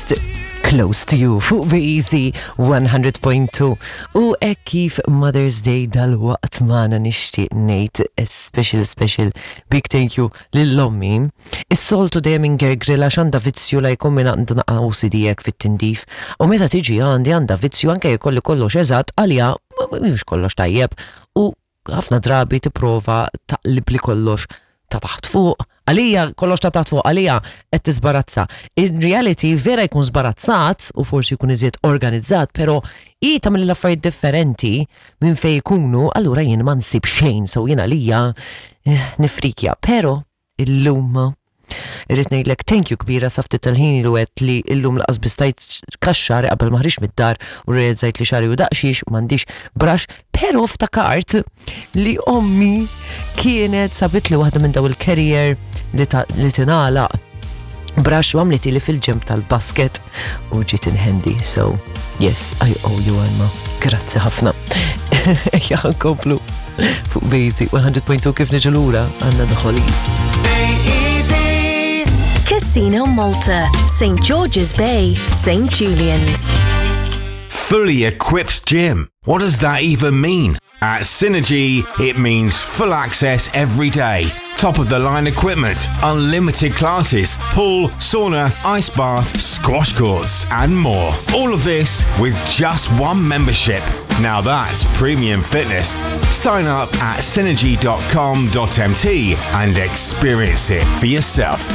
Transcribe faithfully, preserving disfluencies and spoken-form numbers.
First, Close to You fuq B-Easy one hundred point two. U hekk kif Mother's Day dal-waqt magħna, nixtieq ngħid a special, special big thank you lil ommi. Is-soltu dejjem ingergrila x'għandha vizzju la jkun minn għandha naqra O C D hekk fit-tindif. U meta tiġi għandi għandha vizzju, anke jkolli kollox eżatt, għalija mhux kollox tajjeb u ħafna drabi tipprova taqlib li kollox ta' taħt fuq. Għalija kollox ta' taħt fuq, għalija qed tiżbarazza. In reality vera jkun żbarazzat u forsi jkun iżjed organizzat, pero i tagħmel l-affarijiet differenti minn fej jkunu, allura jien ma nsib xejn, so jien għalija eh, nifrikja. Pero illum irrid ngħidlek thank you kbira. Sa ftit tal-ħin ilu għedt li illum lanqas biss stajt nkaxxar qabel ma ħriġt mid-dar u realizzajt li xagħri u daqshiex m'għandix brush, pero ftakart li ommi kienet sabit li waħda minn daw il-carrier li, ta- li tingħalaq brush u għamlet li fil-ġemb tal-basket u ġiet in handy. So, yes, I owe you Alma. Grazzi ħafna. Ejja nkomplu fuq Basic one hundred point two. Kif niġu lura għandna The Hollies. Casino Malta, Saint George's Bay, Saint Julian's. Fully equipped gym. What does that even mean? At Synergy, it means full access every day, top of the line equipment, unlimited classes, pool, sauna, ice bath, squash courts, and more. All of this with just one membership. Now that's premium fitness. Sign up at synergy dot com dot M T and experience it for yourself.